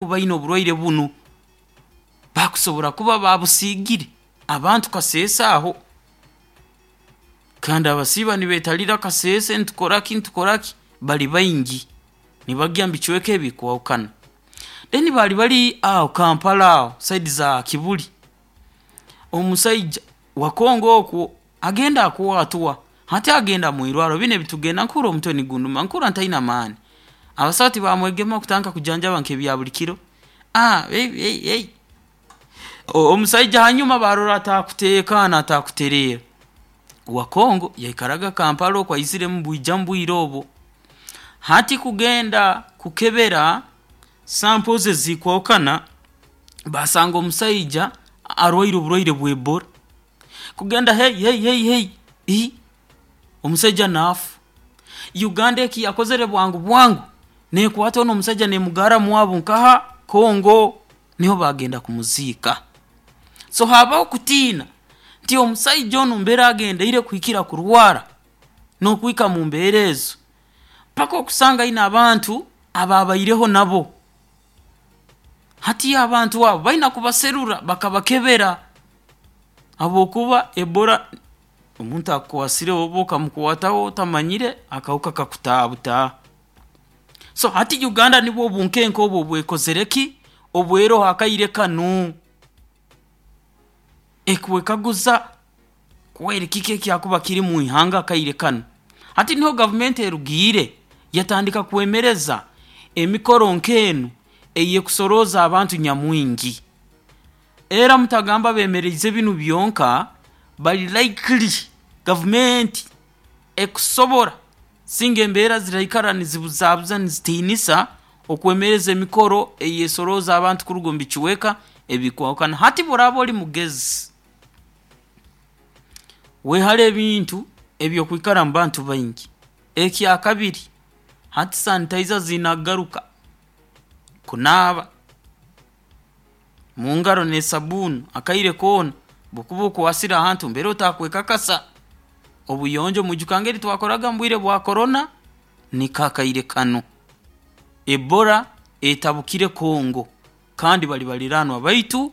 Kuba aine oburwaire bunu, bakusobora kuba baabusiigire abantu Kasese aho. Kandi abasiiba nibeetalira Kasese, ntukora ki, ntukora ki, bali baingi nibagya mu bicweka ebikwahukana. Then baali bali aho Kampala aho side za Kibuli, omusaija wa Congo okwo agenda akwatwa, hati agenda mwirwarro, binu ebitugenda, nkuhurra omutwe nigunduma, nkuhurra ntaine amaani. Abasaho tibamwegema kutandika kujanjaba nk'ebya buli kiro, omusaija hanyuma baarora atakuteekaana, atakutereera, wa Congo yaikaraga Kampala oku aiziremu bwijamu bwire obu. Hati kugenda kukebera sample ze ezikwahukana, baasanga omusaija arwaire oburwaire bwa Ebola. Kugenda hei hei hei hei ii, omusaija naafa. Uganda eki yakozere bwangu bwangu, neekwata onu omusaija neemugarra mwabu nkaha? Congo, niho baagenda kumuziika. So haabaho okutiina nti omusaija onu mbere agendeire kuhikira kurwara n'okuhika mu mbeera ezo, paka okusanga aine abantu abaabaireho nabo. Hati abantu abo baina kubaserura bakabakebera habwokuba Ebola omuntu akukwasireho oba okamukwataho otamanyire, akahuka kakutaaha butaaha. So hati Uganda nubwo obunkenke obu obu ekozire ki? Obu eroho akaire kanu. Ekwekaguza kweri kiki ekyakuba kiri mwihanga akaire kanu? Hati niho gavumenti erugiire yatandika kwemereza emikoro nk'enu ey'ekusorooza abantu nyamwingi. Era mutagamba beemeriize binu byonka, bali likely gavumenti ekusobora singa embeera ziraikara nizibuzaabuza nizitiinisa, okwemereza emikoro eyeesorooza abantu kuruga omu bicweka ebikwahukana. Hati obu oraaba oli mugezi, weehale ebintu eby'okwikara mu bantu baingi. Ekyakabiri, hati sanitizer ziine kugaruka, kunaaba mungaro n'esabbuuni akaire koona, obu okuba okwasire ahantu mbere otakwekakasa, obuyonjo mwijuka engeri twakoraga mu bwire bwa Korona, niko akaire kanu. Ebola etabukire Congo kandi bali baliraanwa baitu,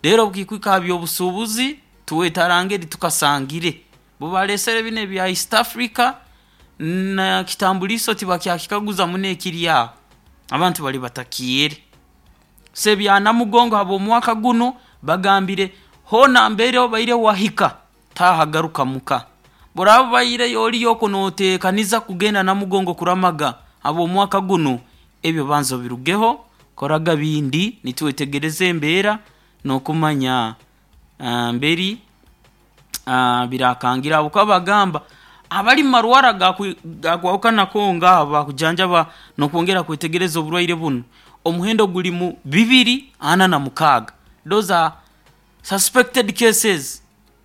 reero obu kikuhika ha by'obusuubuzi, twetarangeri tukasangire. Bo baleesere binu ebya East Africa na kitambuliiso tibakyakikaguza muno ekiri aho, abantu bali batakiire. So ebya Namugongo habw'omwaka gunu bagambire hoona mbere obaire wahika, taaha garuka muka. Obu oraaba obaireyo oliyo oku nooteekaniza kugenda Namugongo kuramaga habw'omwaka gunu, ebyo banza obirugeho, koraga bindi nitwetegereza embeera n'okumanya mberi biraakangira habwokuba bagamba abali mu marwarro agakwahukana Congo aho bakujanjaba n'okwongera kwetegereza oburwaire bunu, omuhendo guli mu 246, those are suspected cases.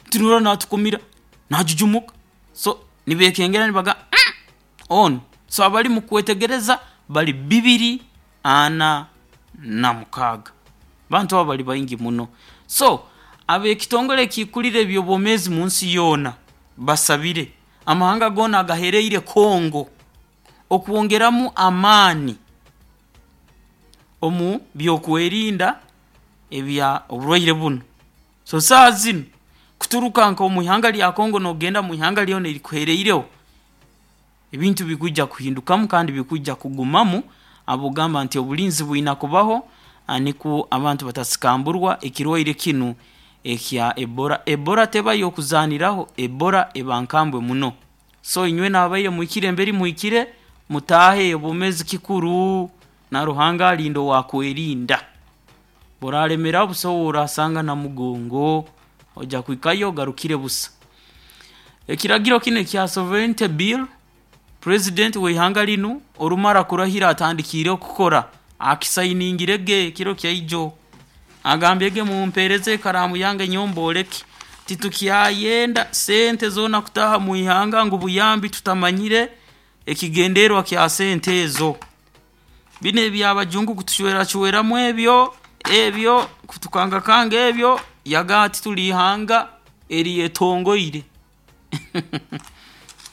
Tinorora naatukumira, naajujumuka, so nibeekengera nibagamba onu, so abali mu kwetegereza bali 246. Abantu abo bali baingi muno. So ab'ekitongore ekikulira eby'obwomeezi munsi yoona basabire amahanga goona agahereire Congo okwongeramu amaani omu by'okwerinda ebya oburwaire bunu. So saaha zinu kuturuka nk'omu ihanga lya Congo n'ogenda mu ihanga lyona erikuhereireho, ebintu bikwija kuhindukamu kandi bikwija kugumamu habw'okugamba nti obulinzi bwina kubaho nikwo abantu batasikamburwa ekirwaire kinu ekya Ebola. Ebola teba y'okuzaaniraho, Ebola eba nkambwe muno. So inywena ababaire muhikire mberi muhikire, mutaahe obwomeezi kikuru na Ruhanga alinda owaakwerinda. Obu oraalemeraho busa ou oraasanga Namugongo, oija kuhikayo ogarukire busa. Ekiragiro kinu ekya Sovereignty Bill, Purezidenti w'ihanga linu orumara kurahira atandikiireho kukora, akisainingire ge ekiro kya ijo. Agambire ge mumpeereze ekaraamu yange nyowe mbooleke, titukyayenda sente zoona kutaaha mu ihanga ngu buyambi tutamanyire ekigendererwa kya sente ezo. Binu eby'abajungu kutucweracweramu ebyo, ebyo, kutukangakanga ebyo, yagamba ati tuli ihanga eryetongoire.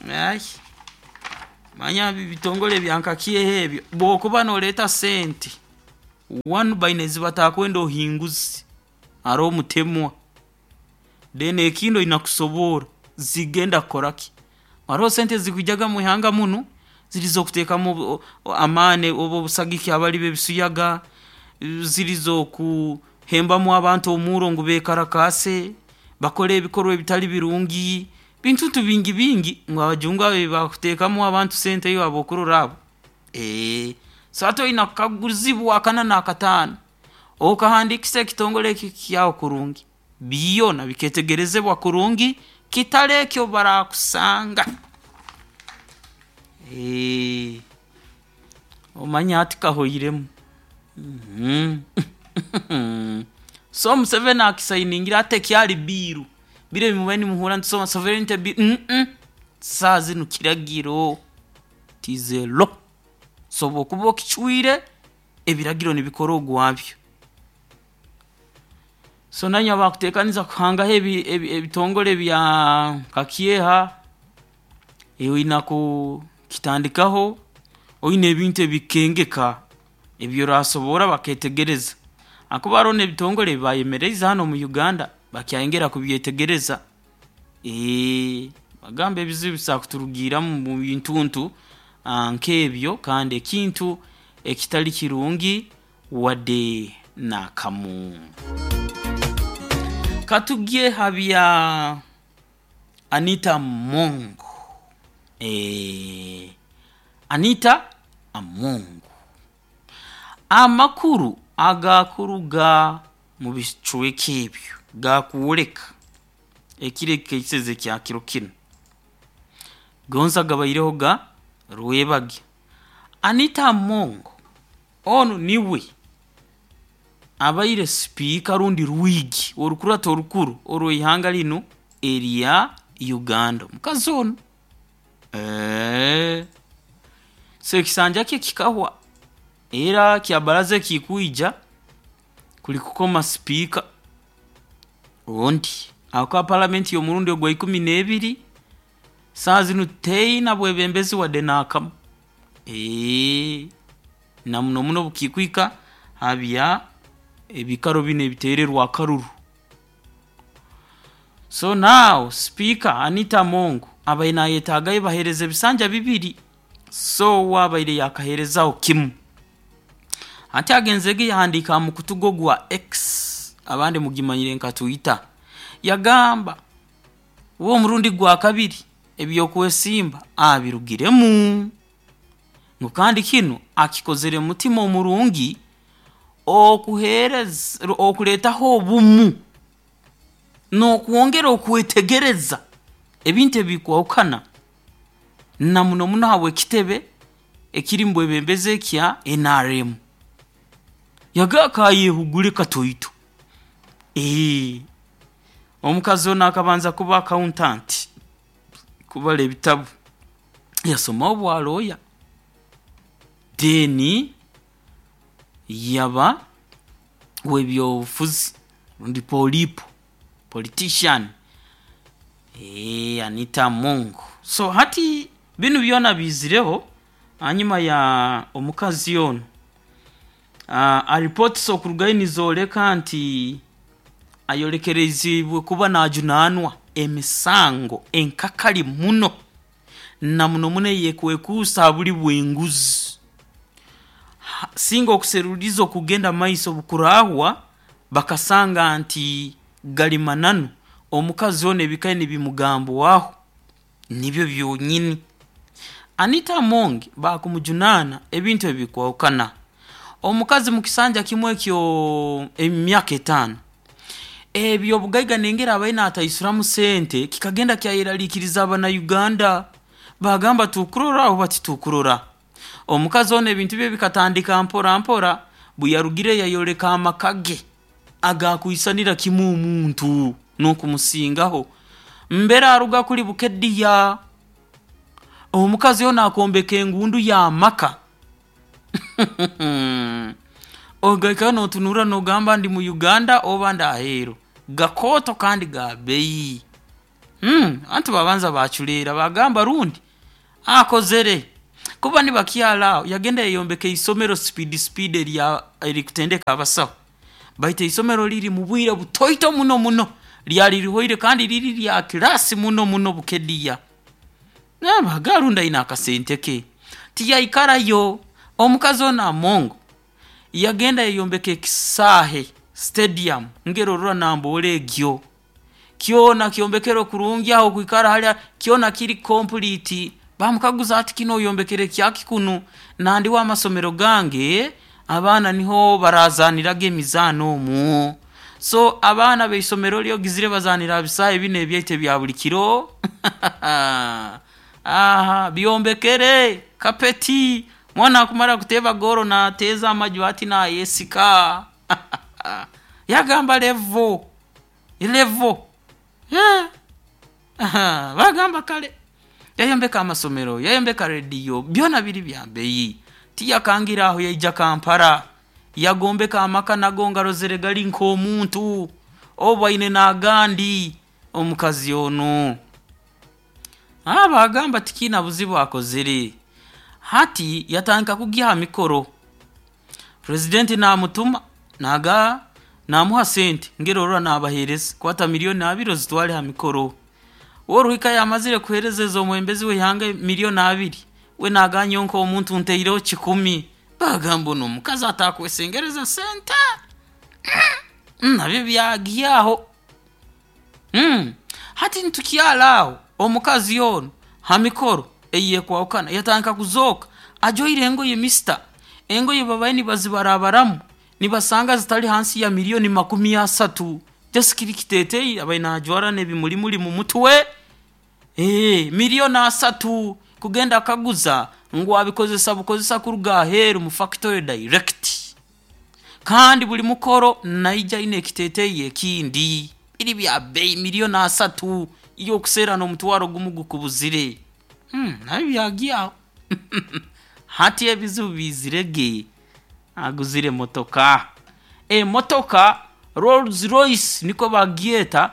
Ai, manya bitongole bya nka kyeho ebyo, bw'okuba nooreeta sente. One, baine ezibatakwenda ohinguzi, haroho omutemwa. Then ekindi oina kusoboora zigenda kukora ki. Haroho sente ezikwijaga mwihanga munu ziri z'okuteekamu amaani oba obusagiki abali b'ebisiyaga, ziri z'okuhembamu abantu omurro ngu beekarakaase, bakole ebikorwa ebitali birungi, bintuntu bingi bingi ngu abajungu abo ebibakuteekamu abantu sente iwe ab'okurora abo. So hati oina kukaguzibwa akana n'akataano, okahandiikisa ekitongole eki kyawe kurungi, byona bikeetegerezebwa kurungi kitali eki obu baraakusanga. Omanya hati kahoiremu. So Museveni akisainingire hati tekyali bill, biri ebi mubaire nimuhurra nitusoma sovereignty bill, saaha zinu kiragiro, it is a law. So obu okuba okicwire, ebiragiro nibikora ogwabyo. So nainywe abakuteekaniza kuhangaho ebitongole bya nka KIEHA, iwe oina kukitandikaho oine ebintu ebikukengeka ebi oraasoborra bakeetegereza hakuba haroho n'ebitongole ebi baayemereize hanu omu Uganda bakyayongera kubyetegereza. Nibagamba ebizibu biso kuturugiiramu mu bintuntu nk'ebyo kandi ekintu ekitali kirungi wadde n'akamu. Katugye ha bya Anita Among. Anita Among. Amakuru agakuruga mu bicweka ebyo gaakwoleka ekiro ekikeiseze ekya kiro kinu. Gonza gabaireho ga rwebagyo. Anita Among onu niwe abaire sipiika rundi rwigi orukurato orukuru orw'ihanga linu erya Uganda, omukazi onu. So ekisanja kye kikahwa era kya baraza ekikwija kuli kukoma sipiika ondi ahakuba palamenti y'omurundi ogwa ikumi n'ebiri saaha zinu teina bwebembezi wadde n'akamu. Na muno muno obukikuhika ha bya ebiikaro binu ebiteererwa akaruru. So now sipiika Anita Among abaire naayetaagayo baheereze ebisanja bibiri, so uwe abaire yaakaheerezaho kimu. Hati agenzerege yahandiika ha mukutu gwe ogwa X, abandi mugimanyire nka Twitter, yagamba uwe omurundi gwa kabiri eby'okwesimba abirugiremu ngu kandi kinu akikozere mutima omurungi okuheereza okureetaho obumu n'okwongera okwetegereza ebintu ebikwahukana na muno muno habw'ekitebe ekiri mu bwebembezi ekya NRM. Yagamba kaayehugure katoito. Omukazi onu akabanza kuba accountant, kubara ebitabu, yasomaho obwa lawyer, then yaba w'ebyobufuzi rundi polipo, politician. Anita Among. So hati binu byona biizireho hanyuma ya omukazi onu reports okurugayo nizooleka nti ayolekereiziibwe kuba naajunaanwa emisango enkakali muno na muno muno ey'ekwekuusa ha buli bw'enguzi. Singa okuseruliiriza okugenda mumaiso obukuraahwa bakasanga nti gali mananu omukazi onu ebikaire nibimugambwaho nibyo byonyini. Anita Among baakumujunaana ebintu ebikwahukana. Omukazi mu kisanja kimu ekyo emyaka etaano, eby'obugaiga n'engeri abaire naataisuramu sente kikagenda kyayeraliikiriza Abannayuganda. Baagamba tukurora oba titukurora. Omukazi onu ebintu bye bikatandika mpora mpora, buyarugire yayoleka amaka ge agakwisanira kimu omuntu n'okumusingaho. Mbere aruga kuri Bukedea, omukazi onu akombeka engundu y'amaka ogarukayo nootunurra noogamba ndi mu Uganda oba ndi aheeru. Gakooto kandi ga bbeeyi. Abantu baabanza baaculeera baagamba rundi akozere. Kuba nibakyali aho, yagenda yayombeka isomero speed speed erya erikutendeka abasaho, baitu isomero liri mu bwire butoito muno muno lyali lihoire, kandi liri lya class muno muno Bukedea. Nabaga rundi aine akasente ke. Tiyaikarayo, omukazi onu Amongo yagenda yayombeka ekisaahe stadium ngeri orora Namboole egyo, kyona kyombekerwe kurungi aho kwikara hali kyona kiri complete. Bamukaguza, ati kinu oyombekere kyaki kunu? Nandi we amasomero gange abaana niho barazaaniraga emizaano omwo. So abaana b'isomero lye ogizire bazaanira ha bisaahe binu ebyaitu ebya buli kiro? Aha byombekere kapeti, mwana akumara kuteeba goolo naateeza amaju ati naayesika. Yagamba level, level, bagamba kale. Yayombeka amasomero, yayombeka rediyo, byona biri bya bbeyi. Tiyakangire aho, yaija Kampala, yagombeka amaka nago ngarozere gali nk'omuntu, obu aine n'agandi omukazi onu. Baagamba tikiina buzibu akozere. Hati yatandika kugya ha mikoro. Purezidenti naamutuma naaga naamuha sente ngeri orora naabaheereza, kwata 2 millioni ozitwale ha mikoro. Oruhika yamazire kuheereza ez'omwebembezi w'ihanga 2 millioni, we naagamba nyowe nk'omuntu ntaireho 100. Baagamba onu omukazi atakwesengereza sente? Nabyo byagyaho. Hati nitukyali aho, omukazi onu ha mikoro eyekwahukana yatandika kuzooka ajwaire engoye mister, engoye babaire nibazibarabaramu nibasanga zitali hansi ya 30 millioni. Just kiri kiteeteeyi abaire naajwara n'ebimulimuli mu mutwe, 30 millioni kugenda kukaguza ngu abikozesa bukozesa kuruga aheeru mu factory direct. Kandi buli mukoro naija aine ekiteeteeyi ekindi, biri bya bbeyi 30 millioni iwe okuseera n'10 gukubuzire. Nabyo byagyaho. Hati ebizibu biizirege, aguzire motoka. Emotoka Rolls Royce nikwo bagyeta,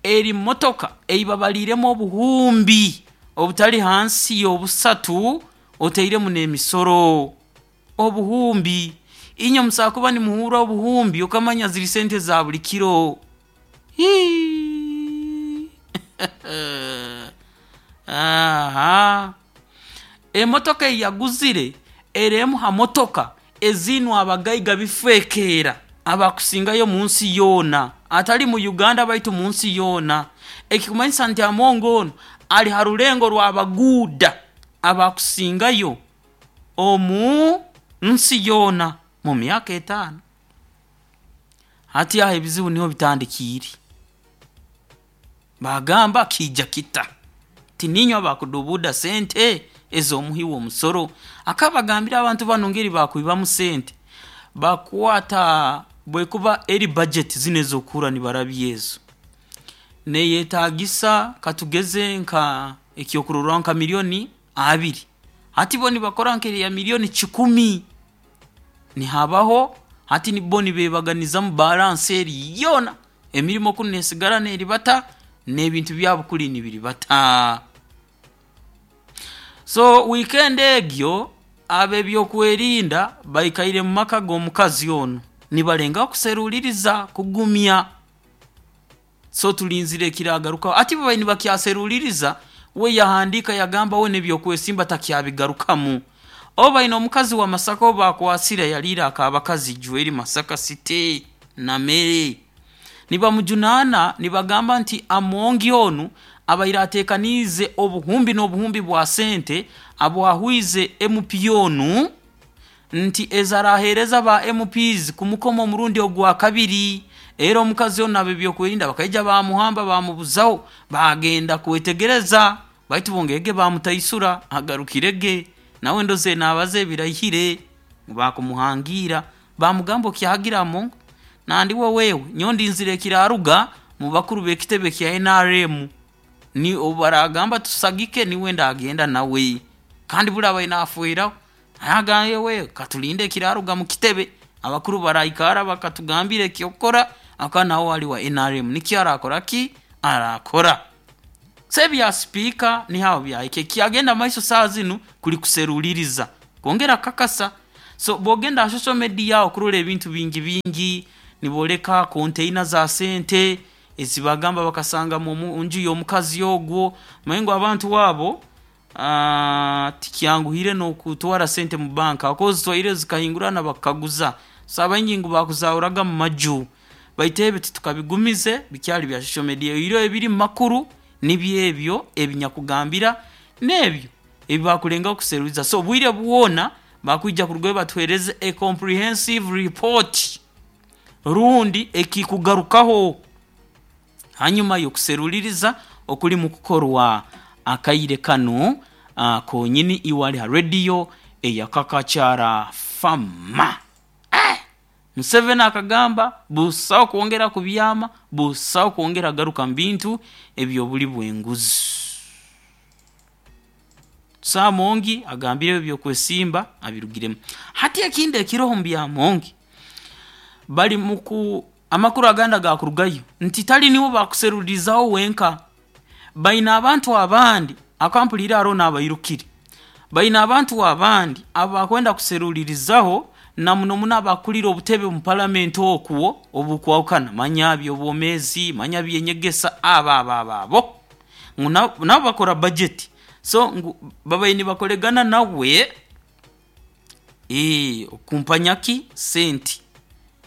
eri motoka ei babaliiremu obuhumbi obutali hansi y'obusatu otairemu n'emisoro. Obuhumbi, inywe musobola kuba nimuhurra obuhumbi okamanya ziri sente za buli kiro. Hiii aha! Emotoka ei yaguzire eri emu ha motoka eziinwe abagaiga bifwekeera abakusingayo omunsi yoona, atali mu Uganda baitu munsi yoona. Ekikumanyisa nti Amongo onu ali ha rulengo rw'abaguuda abakusingayo omu nsi yoona mu myaka etaano. Hati aho ebizibu niho bitandikiire. Baagamba kiija kita? Tiniinywe abakuduubuuda sente ez'omuhi w'omusoro? Akabagambira abantu banu engeri bakwibamu sente, bakwata bwekuba eri budget zinu ez'okuhurra nibarabya ezo, neeyetaagisa katugeze nka ekyokurorraho nka 20 millioni, hati bo nibakora nk'eri ya 100 millioni, nihabaho hati bo nibeebaganizamu balance eri yoona, emirimo kunu neesigara neeribata n'ebintu byabo kuri nibiribata. So wiikendi egyo ab'ebyokwerinda baikaire mu maka g'omukazi onu nibalengaho kuseruliiriza kugumya. So tulinzire ekiraagarukaho. Hati bo babaire nibakyaseruliiriza, we yahandiika yagamba we n'ebyokwesimba takyabigarukamu. Obu baine omukazi wa Masaka ou baakwasire yaliire ak'abakazi Jweri Masaka City Namere. Nibamujunaana nibagamba nti Amongi onu abaire ateekaniize obuhumbi n'obuhumbi bwa sente abwahwize MP onu nti ezi araaheereza ba MPs kumukoma omurundi ogwa kabiri. Era omukazi onu n'ab'ebyokwerinda bakaija baamuhamba baamubuzaho, baagenda kwetegereza baitu bongere baamutaisura agarukirege. Nawe ndozere naabaza ebiraihire baakumuhangiira, baamugamba okyahagira Amongo nandi we wewe nyowe ndinzire ekiraaruga mu bakuru b'ekitebe kya NRM. Ni obu baraagamba tusagike niwe ndaagenda nawe. Kandi buli abaire naafweraho, agambye we katulinde ekiraaruga mu kitebe, abakuru baraikara bakatugambira eky'okukora, habwokuba nawe ali wa NRM nikyo araakora ki? Araakora. So ebya sipiika niho aho byahika. Ekyagenda maiso saaha zinu kuli kuseruliiriza kwongera kukakasa. So bw'ogenda ha social media okurora ebintu bingi bingi, nibooleka container za sente ezibagamba bakasanga mu nju y'omukazi ogwo. Omanye ngu abantu abo tikyanguhire n'okutwara sente mu banka habwokuba ozitwaire zikahingurana bakukaguza. So abaingi ngu baakuzahuraga mu maju, baitu ebi titukabigumize bikyali bya social media, oihireho ebiri mu makuru nibyo ebyo ebinyakugambira n'ebyo ebi bakulengaho kuseruliiriza. So obwire bwona bakwija kurugayo batuheereze a comprehensive report rundi ekikugarukaho hanyuma y'okuseruliiriza okulimu kukorwa akaire kanu konyini iwe ali ha radio eya Kakachara Farmer. Eh! Museveni akagamba busaho kwongera kubyama, busaho kwongera kugaruka mu bintu eby'obuli bw'enguzi. So Amongi agambire eby'okwesimba abirugiremu. Hati ekindi ekiroho omu bya Amongi, bali muku amakuru agandi agakurugayo nti tali niiwe bakuseruliirizaho wenka, baine abantu abandi, habwokuba mpuliire haroho n'abairukire, baine abantu abandi abu bakwenda kuseruliirizaho na muno muno abakuliire obutebe omu palamenti okwo obukwahukana, manya by'obwomeezi, manya by'enyegesa, abo abo abo abo ngu nabo bakora bajeti, so ngu babaire nibakoregana nawe okukumpanya ki? Sente.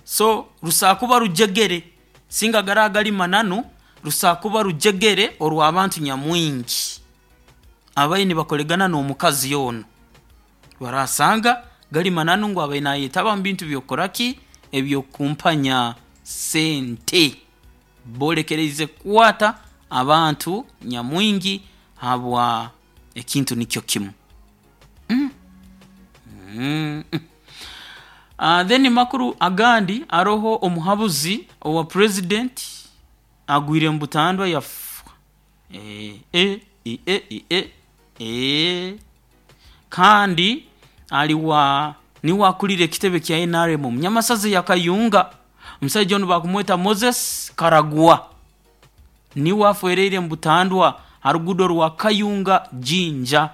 So rusobora kuba rujegere singa garaaba gali mananu, rusobora kuba rujegere orw'abantu nyamwingi ababaire nibakoregana n'omukazi onu. Baraasanga gali mananu ngu abaire naayetaba mu bintu by'okukora ki? Eby'okukumpanya sente. Boolekereize kukwata abantu nyamwingi habwa ekintu nikyo kimu. Then amakuru agandi haroho omuhabuzi owa purezidenti agwire mu butandwa yafa. Kandi ali wa niiwe akulire ekitebe kya NRM omu Nyamasaza eya Kayunga. Omusaija onu bakumweta Moses Karagwa. Niiwe afwereire omu butandwa ha ruguudo rwa Kayunga Jinja.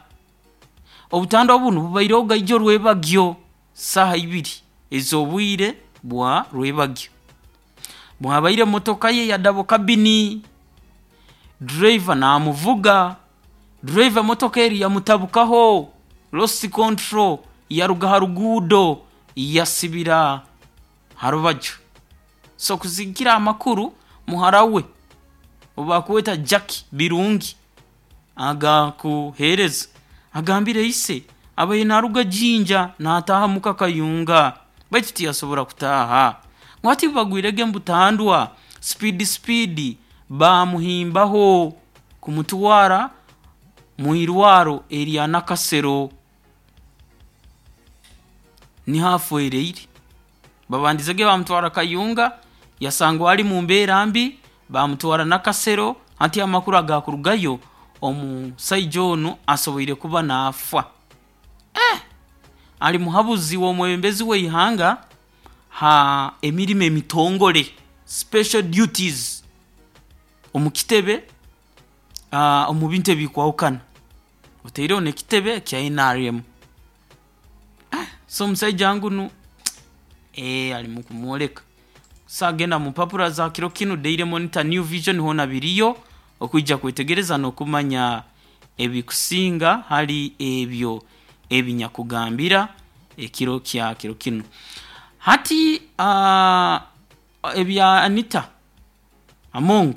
Obutandwa bunu bubaireho ijo rwebagyo saaha ibiri ez'obwire bwa rwebagyo. Bwabaire motoka ye ya double cabin, driver naamuvuga, driver motoka eri yamutabukaho, lost control, yaruga ha ruguudo yasibira ha rubaju. So kusigikirra amakuru, muhara we ou bakweta Jackie Birungi agakuheereza agambire ise abaire naaruga Jinja naataaha muka Kayunga baitu tiyasobora kutaaha. Ngu hati obu bagwirege omu butandwa, speed speed baamuhimbaho kumutwara mu irwaro erya Nakasero niho afwereire. Babandizege baamutwara Kayunga yasangwa ali mu mbeera mbi, baamutwara Nakasero, hati amakuru agakurugayo omusaija onu asoboire kuba naafa. Eh! Ali muhabuzi w'omwebembezi w'eihanga ha emirimo emitongole, special duties, omu kitebe omu bintu ebikwahukana otaireho n'ekitebe kya NRM. So omusaija ngunu ali mu kumwoleka. So agenda mu mpapura za kiro kinu Daily Monitor, New Vision hoona biriyo okwija kwetegereza n'okumanya ebikusinga hali ebyo ebinyakugambira ekiro kya kiro kinu. Hati ebya Anita Among,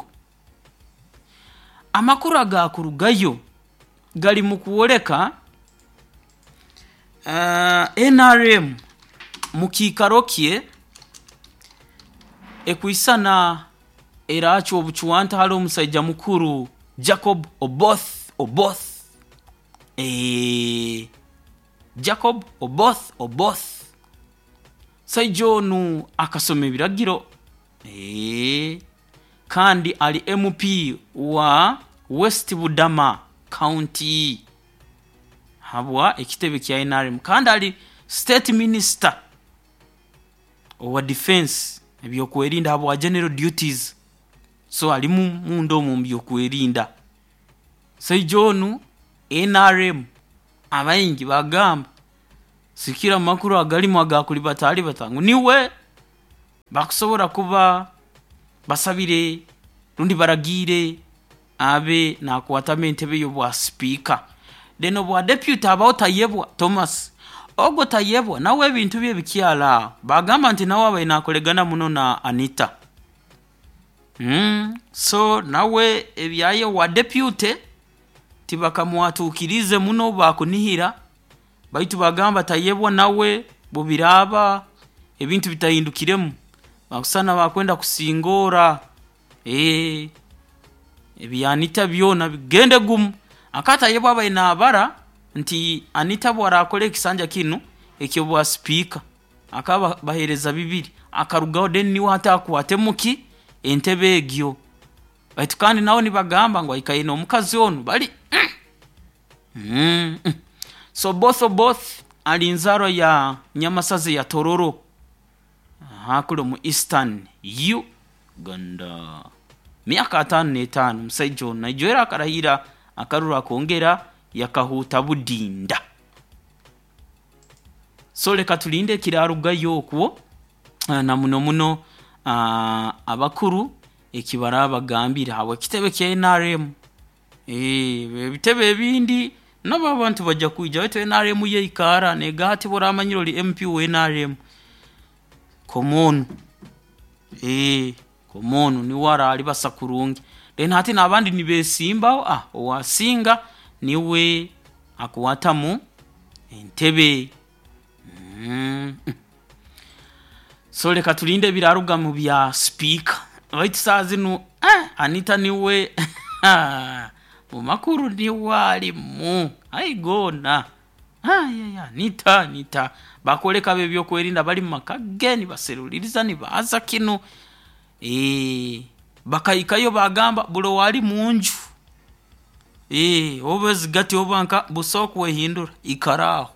amakuru agakurugayo gali mu kwoleka NRM mu kiikaro kye ekwisana eraacwa obucwanta hali omusaija mukuru Jacob Oboth Oboth. Jacob Oboth Oboth. Omusaija onu akasoma ebiragiro kandi ali MP wa West Budama County habwa ekitebe kya NRM kandi ali State Minister owa Defence ebyokwerinda habwa General Duties so alimu munda omu mu byokwerinda. Musaija onu NRM abaingi bagamba sikira amakuru agarimu agakulibatalibata ngu niwe bakusobora kuba basabire rundi baragiire abe nakwatamu entebe y'obwa sipiika. Then obwa deputy habaho Tayebwa Thomas. Ogu Tayebwa nawe ebintu bye bikyali aho, bagamba nti nawe abaire nakoregana muno na Anita. So nawe ebyaye obwa deputy tibakamwatuukiriize muno obu bakunihira, baitu bagamba Tayebwa nawe bubiraaba ebintu bitahindukiremu bakusana bakwenda kusingoora ebya Anita byona bigende gumu. Aka Tayebwa abaire naabara nti Anita obu araakora ekisanja kinu eky'obwa sipiika akaba baheereza bibiri akarugaho then niwe hati akwatemu ki entebe egyo, baitu kandi nawe nibagamba ngu aikaire n'omukazi onu bali. So Oboth Oboth ali nzaarwa ya Nyamasaza eya Tororo kuli omu Eastern Uganda. Myaka 55 omusaija onu naija akarahira akaruru akongera yakahuuta budinda. So leka tulinde ekiraarugayo okwo na muno muno abakuru eki baraaba bagambire habw'ekitebe kya NRM. Ebitebe ebindi nabo abantu baija kwija baitu NRM yo eikaara negamba hati obu oraamanyire oli MP wa NRM, koma onu, koma onu niwe araalibasa kurungi. Then hati n'abandi nibeesimbaho, owaasinga niwe akwatamu entebe. So leka tulinde ebiraaruga mu bya sipiika baitu saaha zinu Anita niwe mu makuru niwe arimu, ai goona Anita Anita bakwoleka ab'ebyokwerinda bali mu maka ge nibaseruliiriza nibaaza kinu bakahikayo baagamba buri owaali munju oba ezigati oba nkaha busaho kwehindura ikara aho.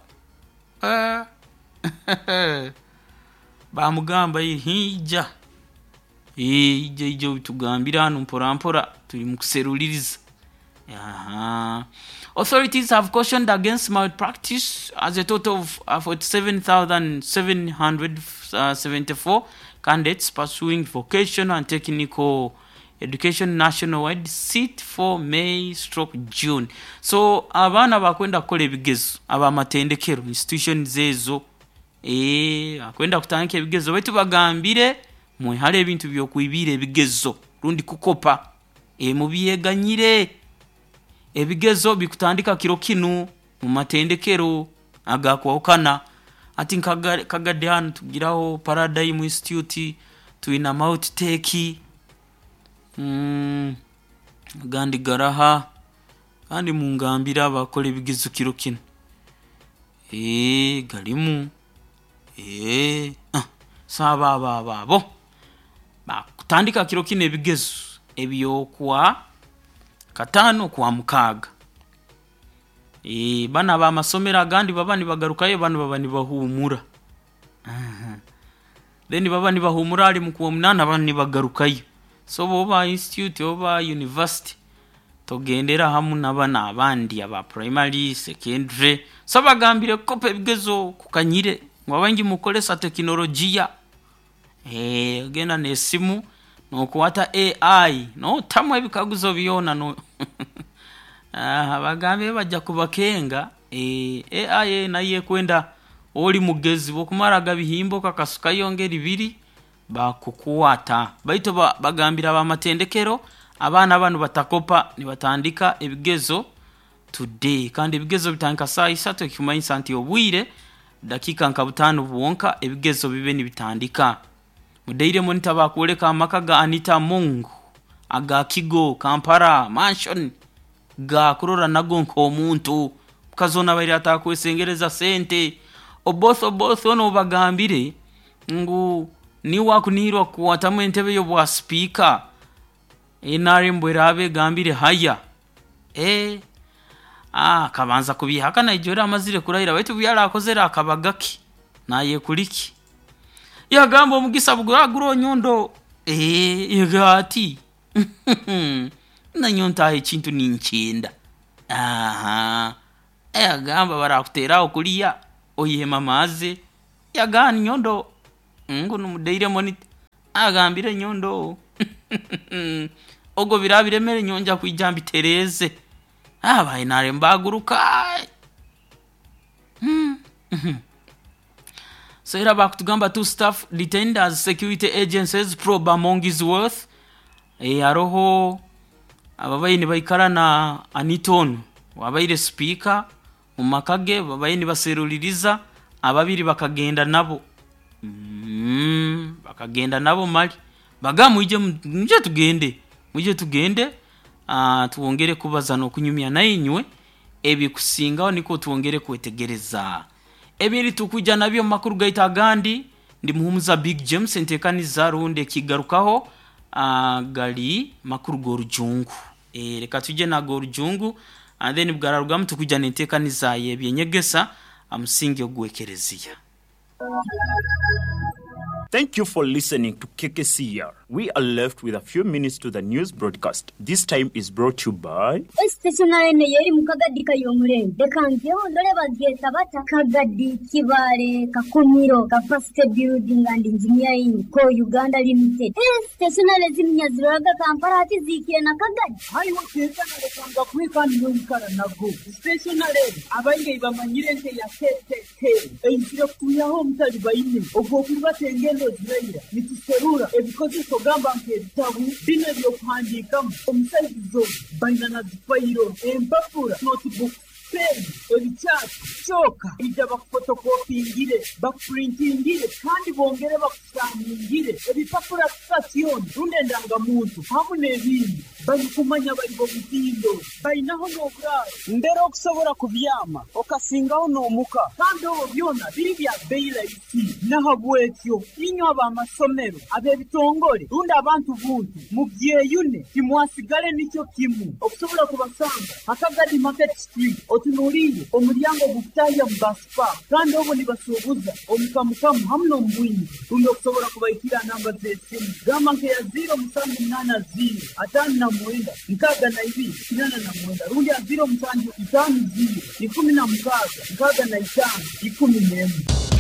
Baamugamba ija, ija ija obitugambire hanu mpora mpora turi mukuseruliiriza. Authorities have cautioned against malpractice as a total of 47,774 candidates pursuing vocational and technical education nationwide sit for May stroke June. So abaana bakwenda kukora ebigezo ab'amatendekero institutions ezo bakwenda kutandika ebigezo baitu bagambire mwehare ebintu by'okwibiira ebigezo rundi kukopa, mubyeganyire. Ebigezo bikutandika kiro kinu mu matendekero agakwahukana hati nka Kagadi hanu tugiraho Paradigm Institute, twina Mount Tech, agandi garaha? Kandi mungambire abakukora ebigezo kiro kinu, garimu, so abo abo abo bakutandika kiro kinu ebigezo eby'okwa kataano okwamukaaga. Banu ab'amasomero agandi baba nibagarukayo banu baba nibahuumura then baba nibahuumura hali mu Kwomunaana banu nibagarukayo. So obu oba institute oba university togendera hamu na banu abandi aba primary, secondary, so bagambire kukopa ebigezo kukanyire ngu abaingi mukukozesa tekinologiya, ogenda n'esimu nookwata AI nootamu ebikaguzo byona no bagambire baija kubakenga, AI nayo ekwenda oli mugezi obu okumara gabihimba okakasukayo ngeri biri bakukwata baitu bagambire ab'amatendekero abaana banu batakopa nibatandika ebigezo today kandi ebigezo bitandika saaha isatu ekikumanyisa nti obwire dakiika nka butaano bwonka ebigezo bibe nibitandika. Mu Daily Monitor bakwoleka amaka ga Anita Among aga Kigo Kampala mansion gaakurora nago nk'omuntu omukazi onu abaire atakwesengereza sente. Oboth Oboth onu ou bagambire ngu niwe akunihirwa kukwatamu entebe y'obwa sipiika NRM bweraaba egambire haya, akabanza kubyehakana ijweri amazire kurahira baitu obu yari akozere akabaga ke naayekuriki, yagamba omugisa buguraba guroho nyowe ndoho, ati nanyowe ntaahe ekintu ninkyenda. Aha, yagamba barakuteraho kuliya oyihema amaazi. Yagamba nyondo ngu numudaire monitor, agambire nyondo ogo biraba biremere nyonja kwija mbitereeze. Aba NRM baguruka. So era bakutugamba two staff detained as security agencies probe Amongi's worth. Haroho ababaire nibaikara na Aniton wabaire speaker mu maka ge, babaire nibaseruliriza ababiri bakagenda nabo. Bakagenda nabo mali bagamba mwije, mwije tugende, mwije tugende, twongere kubaza n'okunyumya nainywe ebikusingaho, nikwo twongere kwetegereza ebiri tukuja nabyo mu makuru gaitu agandi. Ndi Muhumuza Big James, entekaniza rundi ekigarukaho gali makuru g'orujungu. Reka tuje nag'orujungu and then bwararugamu tukuja n'entekaniza y'ebyenyegesa amusingi ogw'ekereziya. Thank you for listening to KKCR. We are left with a few minutes to the news broadcast. This time is brought to you by. Esitationary eno yeri mu Kagadi Kayomurembe. Leka njeho ndole bagyeta bata Kagadi Kibale Kakumiro Capacity Building and Engineering Co Uganda Limited. Stationary ziminya ziroraga Kampala hati ziikire na Kagadi. Haiwe kwekana lekanga kwekani noikara nago stationary abaire bamanyire nte ya KKK eizire kutuyaho omutali baine ogwo okuribata engendo ziraira nituserura ebikozeso gamba nk'ebitabu bino ebyokuhandiikamu omusaizi baina na zifayiro empapura notebook, pen, ebikyapa kyoka ija bakufotokopingire, bakupurintingire kandi bongere bakusaningire ebipapura sitasioni rundi endangamuntu hamu n'ebindi. Barikumanya bari bomutindo bainaho n'oburaaro mbere okusobora kubyama okasingaho n'omuka, kandi obwo byona biri bya bei rahisi. Nahabwekyo inywe ab'amasomero, ab'ebitongore rundi abantu buntu mubyeyune, timwasigale nikyo kimu. Okusobola kubasanga Hakagadi Market Street, otunuliire omulyango ogukutahya mu basipa, kandi obwo nibasuubuza omukamukamu hamu n'omubwingi. Rundi okusobola kubaikira namba z'esimu gamba nkeya 0780 59 62 89 rundi ya 0750 16 65 11.